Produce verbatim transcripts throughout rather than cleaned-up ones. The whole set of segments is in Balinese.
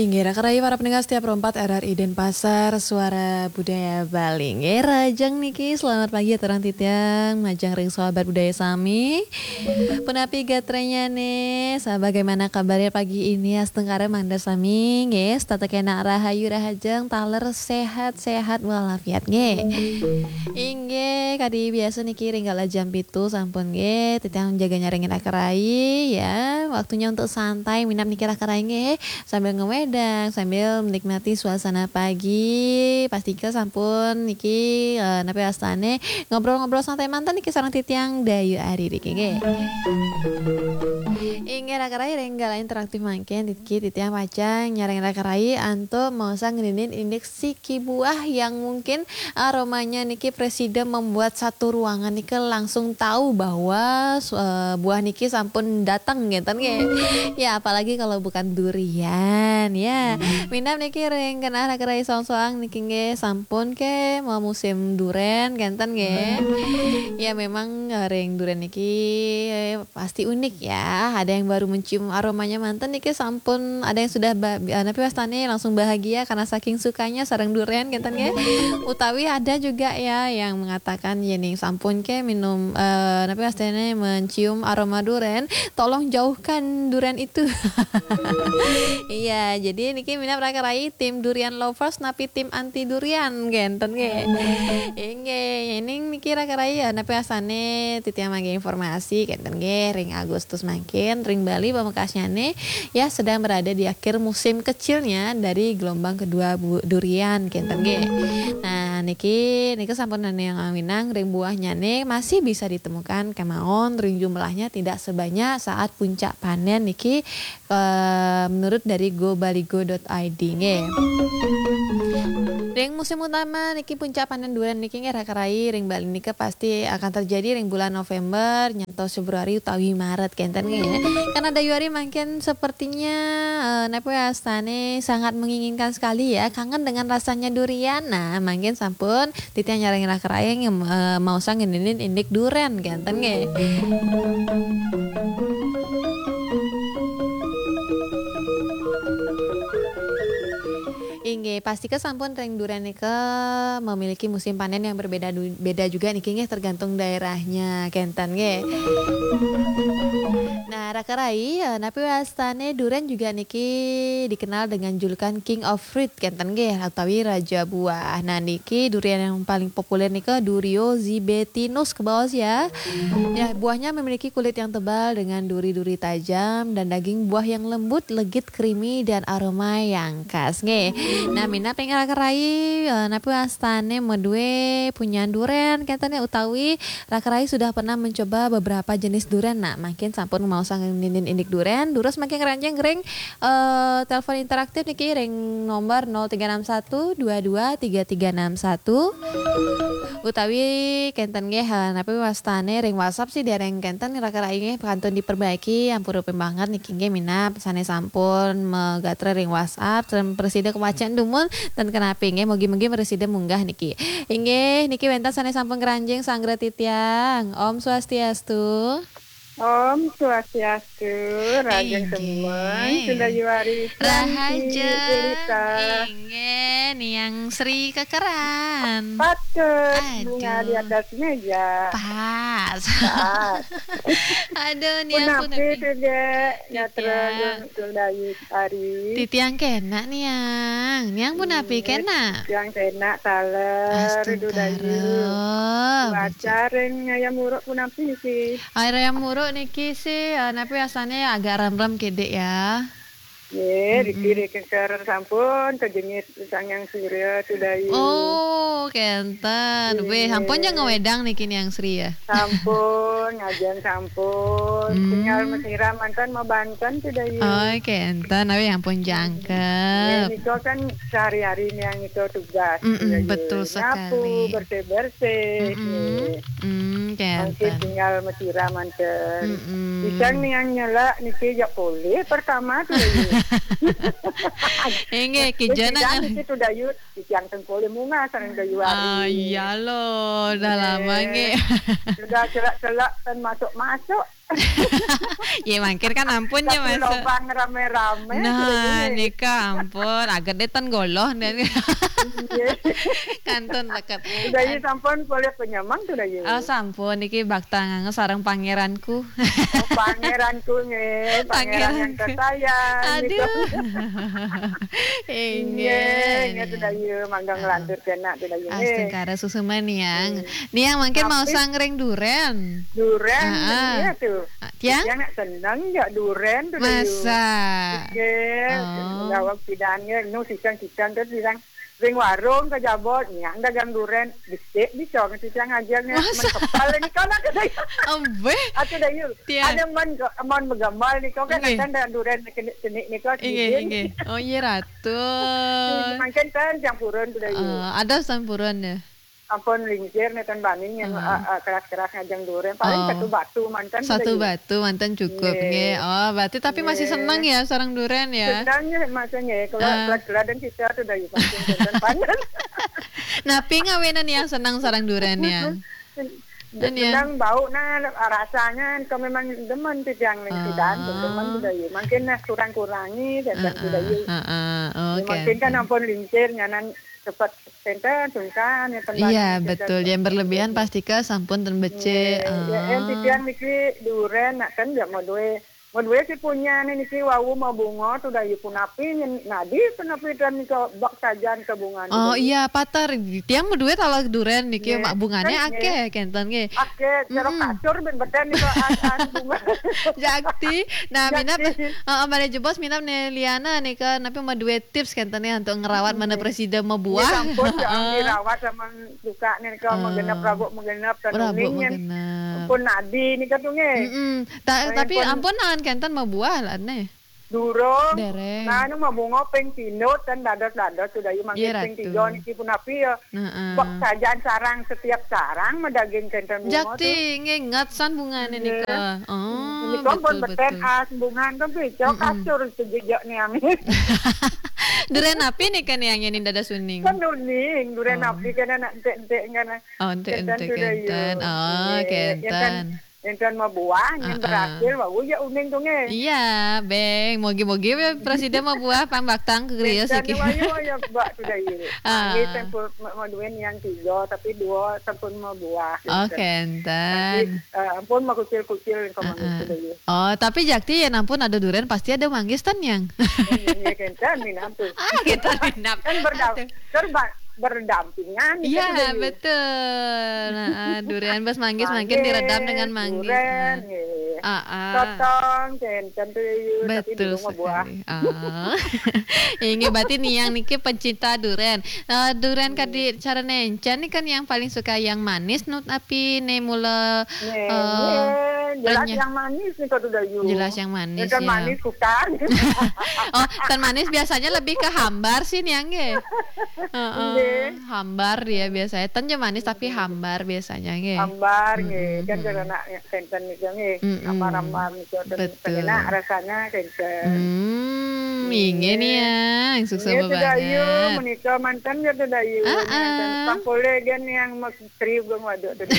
Inggih, raka rayi para pendengar setia Pro empat R R I Denpasar, Suara Budaya Bali. Inggih, rahajeng niki, selamat pagi ya, terang titiang, majeng ring sahabat budaya sami. Punapi gatranya nih, sa-, bagaimana kabarnya pagi ini? Astungkara mangda sami, nggih, setata kenak rahayu rahajeng, taler sehat-sehat walafiat, nggih. Inggih, kadi biasa niki ring galah jam pitu sampun, nggih, titiang jaga nyarengin raka rayi, ya. Waktunya untuk santai, minab niki raka rayi, nggih. Sambil ngewedang, sambil menikmati suasana pagi, pastika sampun niki, eh, napi wastane, ngobrol-ngobrol santai manten niki sareng titiang Dayu Ari niki, nggih. Inggih, raka rayi, ring galah interaktif mangkin, niki titiang pacang nyarengin raka rayi antuk maosang ngeninin indik siki buah yang mungkin aromanya niki presida membuat satu ruangan niki langsung tahu bahwa su-, eh, buah niki sampun datang, ngenten nggih. Ya, apalagi kalau bukan durian, ya. Minab niki ring genah raka rayi soang-soang niki, nggih, sampun ke mau musim duren, ngenten nggih. Ya, memang, eh, ring duren niki, eh, pasti unik ya. Ada yang baru mencium aromanya manten niki sampun, ada yang sudah ba-, eh, napi wastane, langsung bahagia karena saking sukanya sareng duren, ngenten nggih. Utawi ada juga ya yang mengatakan, "Yening sampun ke minum, eh, napi wastane, mencium aroma duren, tolong jauhkan duren itu." Iya, jadi niki minab raka rayi tim durian lovers napi tim anti durian, ngenten nggih. Inggih, yening niki raka rayi ya, napi wastane titiang mangke informasi, ngenten nggih, ring Agustus mangkin, ring Bali pamekasnyane, ya, sedang berada di akhir musim kecilnya dari gelombang kedua bu-, durian, ngenten nggih. Nah, niki, niki sampun nane yang awinang, ring buahnyane masih bisa ditemukan kemawon, ring jumlahnya tidak sebanyak saat puncak panen niki, eh, menurut dari gobaligo dot I D, nggih. Ring musim utama niki puncak panen duren niki, nggih, raka rayi, ring Bali nika pasti akan terjadi ring bulan November nyantos Februari utawi Maret, ngenten nggih. Karena Dayu Ari mangkin sepertinya, eh, napi wastane, sangat menginginkan sekali ya, kangen dengan rasanya durian. Nah, mangkin sampun titiang nyarengin raka rayi, eh, maosang ngeninin indik duren, ngenten nggih. Inggih, pastika sampun ring duren nika memiliki musim panen yang berbeda du-, beda juga niki, nggih, tergantung daerahnya, ngenten nggih. Nah, raka rayi, eh, napi wastane duren juga niki dikenal dengan julukan King of Fruit, ngenten nggih, utawi Raja Buah. Nah, niki durian yang paling populer nika Durio zibetinus, kebaos ya. Ya, buahnya memiliki kulit yang tebal dengan duri-duri tajam dan daging buah yang lembut, legit, creamy, dan aroma yang khas, nggih. Nah, minab ring raka rayi, eh, napi wastane madue punyan duren, ngenten nggih, utawi raka rayi sudah pernah mencoba beberapa jenis duren. Nah, mangkin sampun maosang ngeninin indik duren, durus mangkin ngranjing ring, eh, telepon interaktif niki ring nomor nol tiga enam satu dua dua tiga tiga enam satu. Utawi ngenten nggih, eh, napi wastane ring WhatsApp sih dereng ngenten, raka rayi, nggih, kantun diperbaiki, ampura pinih banget niki, nggih, minab sane sampun magatra ring WhatsApp, sareng prasida kawacen dumun, ten kenapi, nggih, mugi-mugi prasida munggah niki. Inggih, niki wenten sane sampun ngranjing sanggra titiang. Om Swastiastu. Om Swastiastu, rahajeng semeng, Sunda Yuwari, Santi, rahajeng, Ulita. Inggih, Niang Sri Kekeran. Patut, bunga di atas meja. Pas. Pas. Aduh, Niang punapi, punapi, Dek? Ngatra, Dek. Sunda Yuwari. Titiang kenak, Niang. Niang punapi, kenak? Titiang kenak, taler, Dudayu. Astungkara. Cuaca ring Ngayam Wuruk punapi niki? Air Ngayam Wuruk niki sih, eh, napi wastane, agak remrem kidik ya. Nggih, riki ring kengkeren sampun kajengis Sang Hyang Surya, Dudayu. Oh, kenten. Weh, sampun ja ngewedang niki, Niang Sri ya? Sampun, ngajeng sampun. Tinggal masiram manten mabanten, Dudayu. Oh, kenten. Tapi sampun jangkep. Nggih, nika kan sehari-hari Niang nika tugas, Dudayu. Betul sekali. Nyapu, bersih-bersih, nggih. Mangkin kenten. Tinggal masiram manten. Pisang Niang nyelak niki jak polih pertama, Dudayu. Inggih, kija niki, Dudayu. Titiang ten polih munggah sareng Dudayu Ari. Ah, iya lo, dah lama nggih. Sudah celak-celak ten masuk-masuk. Ya mangkin kan ampun ya, Satu masa lobang rame-rame. Nah, sudah gitu. Nika ampun, agak detan goloh dan Iya. Kantun leket. Sudah iya, sampun kulit penyemang sudah iya. Oh, sampun, niki bakta ngangge sareng pangeranku. Oh, pangeranku nggih, pangeran yang tersayang, gitu. Aduh. Inggih, inggih, sudah iya, mangga nglantur kenak sudah iya. Astungkara susuman, Niang. Niang mangkin mau sangring duren. Duren, iya tuh. Tiang? Tiang nak seneng ya duren tuh, Dayu. Masa? Nggih, oh. Gawang pidan nggih, nu sisang-sisang kan sisang ring warung ke Jabot, niang dagang duren, becik bisa ngerti tiang aja nggih. Masa? Men kepal ini kan aku, Dayu. Ambeh. Aku, Dayu. Tiang. Ada men, men megamal nih, kau kan. Nggih. Kan dagang duren kena senik nih, kau. Inggih, inggih. Oh, iya, Ratu. Mangkin kan campuran tuh, Dayu. Eh, ada campuran ya? Ampun lingsir neten bani yang, eh, eh, keras-keras ngajeng duren. Paling satu batu mantan sudah ya. Satu batu mantan cukup, nggih. Oh, berarti tapi masih seneng ya sareng duren ya? Seneng ya, masih nggih. Kalau kelas-kelas dan kita sudah ya, masih seneng panen. Napi ngawenan yang seneng sareng duren ya? Dan ya. Seneng bau, nah, rasanya kau memang demen tuh yang ning sidan, demen sudah ya. Mungkin nah kurang-kurangi dan sudah ya. Heeh, heeh. Oh, ya, mungkin kan ampun lingsir, nyanan cepet tenten sungkan ya, tembang. Iya, betul. Yang berlebihan pasti ke sampun ten becik. Nggih. Ya, yang titiang niki duren, nak kan ya mau duwe, mau duwe si punya nih niki wau mau bunga tuh dah ya punapi, nyen-, nadi punapi dan ke bak sajan ke bunga. Oh, iya, patar. Tiang mau duwe kalau duren niki, nggih, mak bungane kan, akeh, nggih. Kenten nggih. Akeh, cara kasur ben beden nih kok an, an bunga. Jakti. Nah, minap, heeh, balik jebos minap nih Liana nih ke, tapi mau duwe tips kenten nih untuk ngerawat mana presiden mau buah. Nggih, sampun, jangan dirawat sama suka nih, kalau mau genep, rabuk mau genep, dan rabuk mau genep. Pun nadi nih, Kak, tuh, nggih. Mm-mm. Ta-, tapi ampun, ampun, nangan kenten mau buah lah, nih. Durung. Dereng. Nah, ini mau bunga ping pindut dan dados-dados sudah, yuk, mangkin ping tiga niki pun api ya. Heeh. Bak sajan sarang, setiap sarang medaging kenten bunga tuh. Jakti, nginget san bungane nika. Oh, nika pun betul, beten betul. As bungan tuh, pico kasur sejejak nih, amin. Duren api nih kan yang ini dada suning. Kan uning, duren api kan anak entek-entek kan. Oh, entek-entek kenten. Oh, nggih. Kenten. Enten mau buah, yang berhasil, wau ya uning tuh, nggih. Iya, beng. Mogi-mogi ya presiden mau buah, pang baktang ke griya siki. Wayu, wayu, Mbak, sudah ini. Nggih, sampun mau, mau duwe yang tiga, tapi dua sampun mau buah. Oh, kenten. Tapi, eh, ampun mau kucil-kucil yang kau manggis sudah ini. Oh, tapi jakti ya ampun ada duren pasti ada manggis ten yang. Iya, kenten, minap tuh. Ah, kita minap. Kan berdam-, kan ba-, berdampingan, iya, kan, betul. Nah, durian bas manggis mangkin diredam dengan manggis. Durian, nggih. Sotong, kenten tuh, tapi betul dulu mah buah sekali. Inggih, berarti niang niki pencinta durian. Eh, durian kadi cara nencen nih kan yang paling suka yang manis, nut api nih mula, nggih, eh, nggih, jelas renyah. Yang manis nih, Kak Dayu. Jelas yang manis, ya. Manis bukan. Oh, kan manis biasanya lebih ke hambar sih, niang, nggih. Heeh. Nggih. Hambar dia biasanya. Ten je manis tapi hambar biasanya, nggih. Hambar, nggih. Kan karena kenten itu, nggih. Hambar-hambar itu, dan enak rasanya, kenten. Hmm, inggih, niang. Sukses banget. Dayu, menika mantan ya, Dayu. Heeh. Mantan. Pang poleh gen yang Tri Gung Waduk tuh.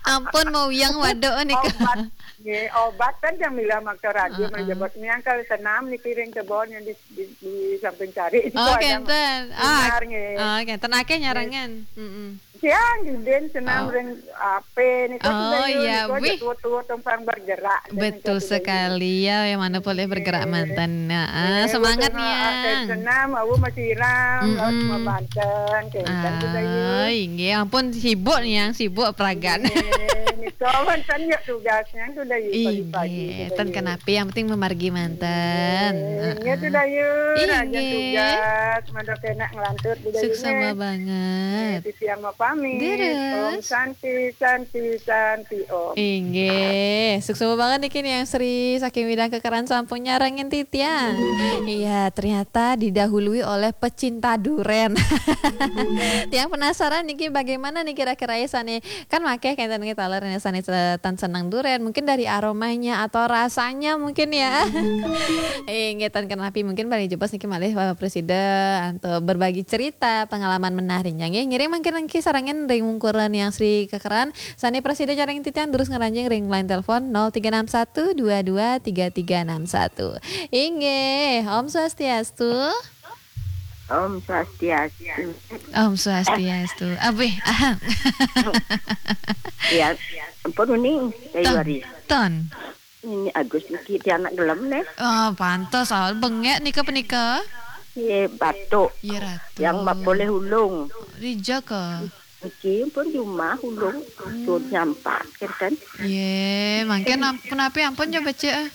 Ampun, mau yang waduk nih, Kak. Obat. Nggih, obat kan yang milah maksa radio, oh, menyebut niang kali senam niki ring kebon yang di, di, di samping cari. Oh, kenten. Ah, nggih. Oh, kenten. Akeh nyarengan. Mm-mm. Siang, diden senam ring ape nih, kan. Oh, sudah iya, niku wih. Tua-tua tumpang bergerak. Betul sekali, ya, yang mana boleh bergerak mantan. Nah, semangat, niang. Senam, aku masih iram, laut sama banten, kayak gitu, Dayu. Ah, inggih, ampun sibuk, niang, sibuk peragan. Inggih, nika mantan ya tugasnya sudah pagi-pagi. Inggih, ten kenapi, yang penting memargi mantan. Inggih, sudah, Yu. Rajin tugas, mandok enak ngelantur, sudah. Suksma banget. Titi yang mau pamit. Om Santi, Santi, Santi, Om. Inggih, suksma banget niki niang Sri saking Widang Kekeran sampun nyarengin titiang. Iya, ternyata didahului oleh pecinta duren. Tiang penasaran niki bagaimana nih kira-kira ya sane. Kan makeh kenten niki taler ya sane tan seneng duren. Mungkin dari aromanya atau rasanya mungkin ya. Inggih, tan kenapi mungkin balik jebos niki malih, eh, presiden atau berbagi cerita pengalaman menarik. Nggih, ngiring mangkin niki sareng Ring wungkuran Yang Sri Kekeran, sané prasida jaring titiang durus ngranjing ring line telepon nol tiga enam satu dua dua tiga tiga enam satu. Inggih, Om Swastiastu. Om Swastiastu. Om Swastiastu. Abih, ahang. Ya, ampun uning, Kayu Ton, Ari. Ton. Ini Agus niki tiang nak gelem neh. Oh, pantes awal bengek nika penika. Ye, batuk. Ye, Ratu. Yang mak poleh ulung. Rija ke? Niki pun jumah ulung. Hmm. Sun nyampak, kenten. Ye, mangkin am-, punapi ampun jo becik, eh?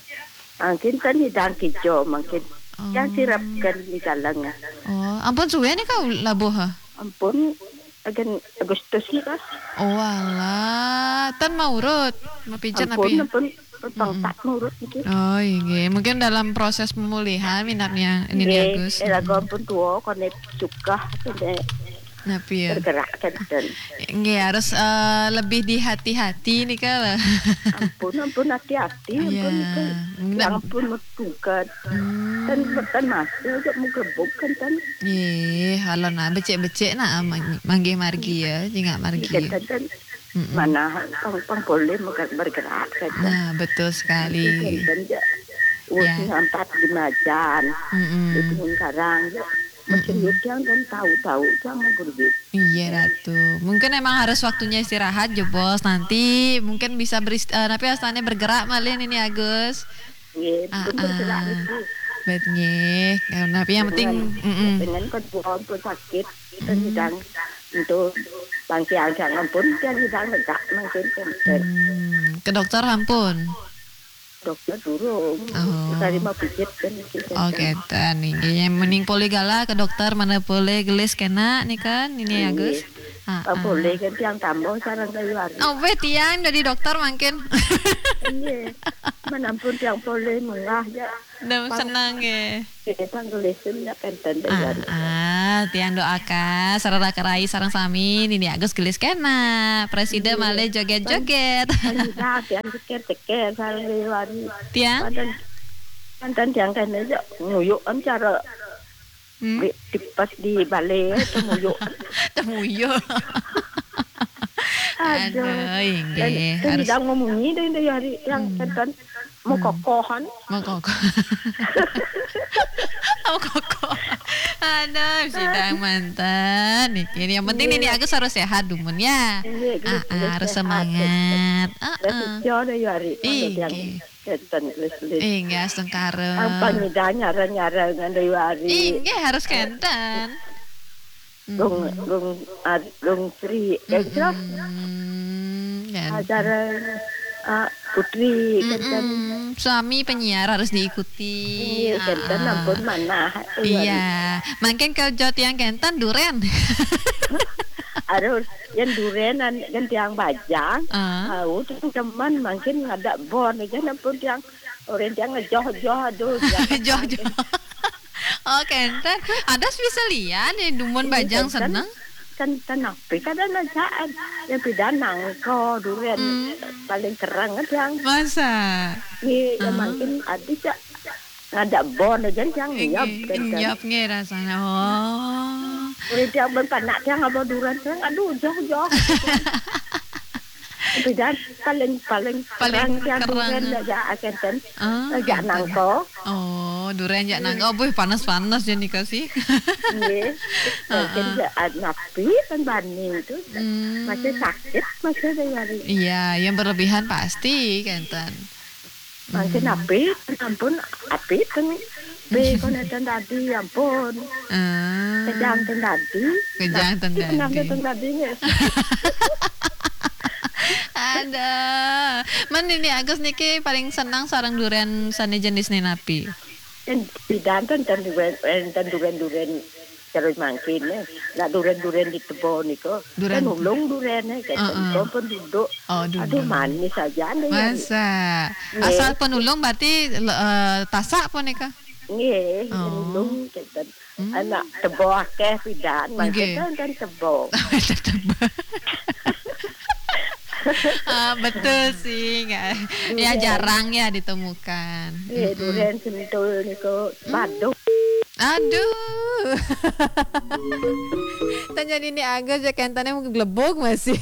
Mangkin kan hidang kijo, mangkin. Oh. Yang sirap kan di dalam. Oh, ampun suwe nika u-, labuh, eh? Ampun, agen Agustus nika. Oh, alah. Tan maurut, mapijen ampun, api? Ampun, ampun pangkat maurut niki. Oh, inggih. Mungkin dalam proses pemulihan minatnya ini, nggih, Agus. Eh, lagu ampun tua, konek suka, konek napi ya? Bergerak, kenten. Nggih, harus, eh, lebih dihati-hati nika lah. Ampun, ampun, hati-hati, ampun, ya, nika. Nggak. Yang pun metukat. Hmm. Kan, kan masuk, juga mau gebuk, kan, kan. Nggih, kalau nak becik-becik nak, ah, mang-, manggih margi ya, jingak margi. Iya, kan, kan. Mm-mm. Mana pang, pang boleh mega-, bergerak saja. Nah, betul sekali. Itu kan, kan, ja. Oh, ya. Ngampat di Majan, mm-mm, di Gunung Karang, ja. Mm-mm. Macam itu yang kan tahu-tahu, jangan berbuat. Iya, Ratu. Mungkin emang harus waktunya istirahat, jebos. Nanti mungkin bisa beris-, eh, napi astannya bergerak malih ini, Agus. Nggih, ah, bener, ah. Nggih. Bet nggih. Ya, tapi yang penting, dengan, mm-mm, dengan kedua pun sakit, kita, hmm, sedang untuk bangkiang jangan pun dia sedang tegak mungkin, kan. Hmm, ke dokter ampun? Dokter durung. Oh. Dari mau pijit kan, gitu, oh, kan. Kenten. Inggih, yang mending polih gala ke dokter, mana polih gelis kena nih kan, ini ya, nggih, Gus? Ah, ah, ah. Polih kan tiang tambah sareng keluarga. Oh, weh, tiang dari dokter mungkin. Iya. Menampun tiang polih munggah ya. Dah pang-, senang ya. Kita pang gelisin ya kenten. Ah, dari ah, tiang doakan, sareng raka rai, sareng sami, nini Agus gelis kena. Presida, iya, malih joget-joget. Pang-, pang-, tiang ceker-ceker, sareng liwari. Tiang? Panten, panten tiang kena aja nguyuk kan cara. Hmm? Di, di, pas di balai, eh, temuyuk. Temuyuk. Aduh. Aduh, inggih. Dan, dan harus sedang memunyi deh, deh, hari yang, hmm, kenten mau, hmm, kokohan. Mau kokoh. Mau kokoh. Aduh, sidang manten. Niki, yang penting, iya, nini Agus harus sehat, dumun, ya. Iya, ah, iya, ah, harus sehat, semangat. Ah, ah. Berarti jodoh, ya, hari. Inggih. Kenten, gelis-gelis. Inggih, astungkara. Apa nyida nyara-nyara ngan Dewi Ari? Inggih, harus kenten. Gung, hmm, Gung Ar-, Gung Sri, kenten. Mm-mm, kenten. Acara, ah, Putri, kenten. Mm-mm. Suami penyiar harus diikuti. Iya, kenten, ah, ah, ampun manah. Iya. Mangkin kalau jot yang kenten, duren. Harus. Yang duren an-, yang tiang bajang, ah, au, tu teman mangkin ngadak bon aja, nampun tiang, orang tiang ngejoh-joh, aduh, joh-joh. Oh, kenten. Ada spesialian yang dumun bajang kan seneng? Kan, kan napi kada najaan. Yang pidan nangko duren, hmm, paling kerang kan tiang. Masa? Iya, yang, ah, mangkin ada ja. Ngadak bon aja yang ngiap, inggih, kan, kan. Ngiap nggih rasanya. Oh. Udah tiang berpanak tiang apa duren tiang, aduh, joh, joh. Tapi dah paling, paling, paling kerang tiang kerang. Duren aja, akan kan. Ah, ajak kenten. Nangko. Oh, duren ajak, iya, nangko. Buh, panas-panas ya nika sih. Iya. Heeh. Mungkin ya, ah, napi kan bani itu. Hmm. Masih sakit, masih ada nyari. Iya, yang berlebihan pasti, kenten. Mangkin, hmm, apit, ampun, apit kan. Be, kon enten tadi, ampun. Ah. Kejang ten tadi. Kejang ten tadi. Nah, kejang ten tadi, nggih. Aduh. Man, ini Agus niki paling senang sareng duren sane jenisne napi? Ten pidan ten, ten duren, eh, ten duren-duren. Terus mangkin, eh. Nak duren-duren di tebo nika. Duren. Kan ulung duren, eh, kenten. Heeh. Nika pun duduk. Oh, duduk. Aduh, manis aja nih. Masa? Nggih. Asal pun ulung berarti, eh, tasak pun nika? Nggih, oh. Ulung, kenten. Hmm. Anak tebo akeh pidan, mangkin, nggih, kan, kan tebo. Tebo. Ah, betul sih, nggak. Ya, duren. Jarang ya ditemukan. Nggih, mm-mm. Duren sentul niku, mm, baduh. Aduh. Tanya Nini Agus ya, kentane mungkin gelebok masih.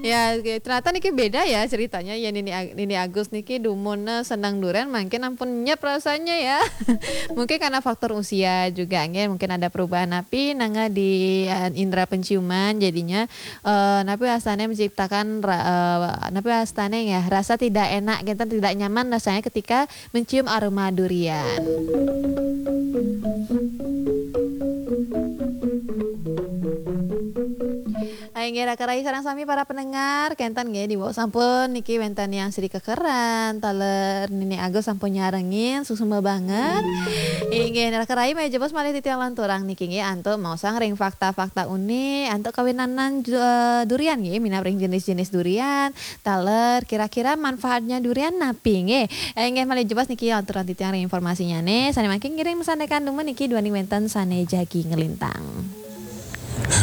Ya, oke. Ternyata niki beda ya ceritanya. Ya, Nini Ag-, Nini Agus niki dumun senang duren, mungkin ampun nyep rasanya ya. Mungkin karena faktor usia juga, nggih, mungkin ada perubahan napi nangga di, eh, indera penciuman, jadinya, eh, napi wastane menciptakan ra-, eh, napi wastane ya, rasa tidak enak, kita tidak nyaman rasanya ketika mencium aroma durian. Inggih, raka rai sareng sami para pendengar, kenten nggih, diwau sampun niki wenten yang sedikit kekeran, taler Nini Agus sampun nyarengin, suksma banget. Inggih, raka rai malih jebos malih titiang lanturang niki nggih, antuk maosang ring fakta-fakta unik, antuk kawinanan ju-, eh, durian nggih, minab ring jenis-jenis durian, taler kira-kira manfaatnya durian napi nggih. Eh, inggih malih jebos niki lanturang titiang ring informasinyane, sane mangkin ngiring masandekan dumun niki duaning wenten sane jagi ngelintang.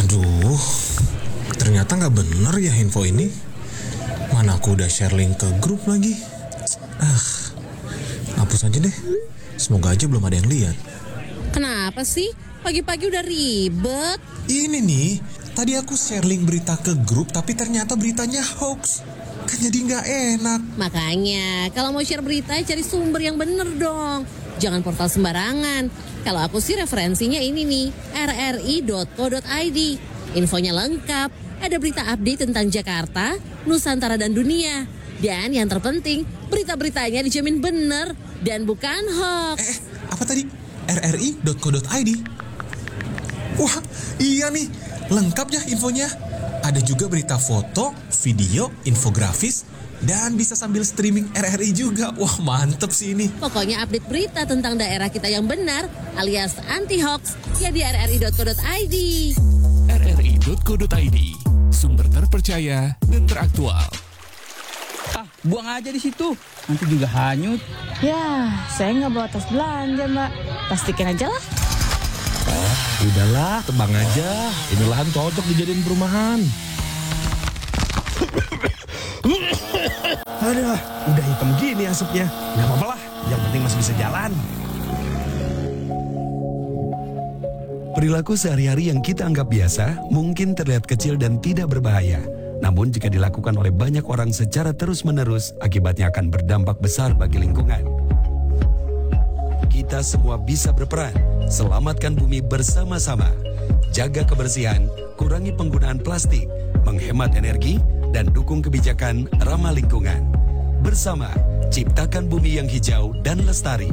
Aduh, ternyata nggak bener ya info ini. Mana aku udah share link ke grup lagi. Ah, hapus aja deh. Semoga aja belum ada yang lihat. Kenapa sih? Pagi-pagi udah ribet. Ini nih, tadi aku share link berita ke grup tapi ternyata beritanya hoax. Kan jadi nggak enak. Makanya, kalau mau share berita, cari sumber yang bener dong. Jangan portal sembarangan. Kalau aku sih referensinya ini nih, rri.co.id. Infonya lengkap, ada berita update tentang Jakarta, Nusantara dan dunia. Dan yang terpenting, berita-beritanya dijamin bener dan bukan hoax. Eh, apa tadi? rri.co.id. Wah, iya nih, lengkap ya infonya. Ada juga berita foto, video, infografis, dan bisa sambil streaming R R I juga. Wah, mantep sih ini. Pokoknya update berita tentang daerah kita yang benar alias anti hoax ya di rri.co.id. rri.co.id, sumber terpercaya dan teraktual. Ah, buang aja di situ. Nanti juga hanyut. Ya, saya nggak bawa tas belanja, Mbak. Plastikin aja lah. Udahlah, tebang aja. Ini lahan cocok dijadiin perumahan. Aduh, udah hitam gini asapnya. Nggak apa-apa lah, yang penting masih bisa jalan. Perilaku sehari-hari yang kita anggap biasa mungkin terlihat kecil dan tidak berbahaya. Namun jika dilakukan oleh banyak orang secara terus-menerus, akibatnya akan berdampak besar bagi lingkungan. Kita semua bisa berperan. Selamatkan bumi bersama-sama. Jaga kebersihan, kurangi penggunaan plastik, menghemat energi, dan dukung kebijakan ramah lingkungan. Bersama, ciptakan bumi yang hijau dan lestari.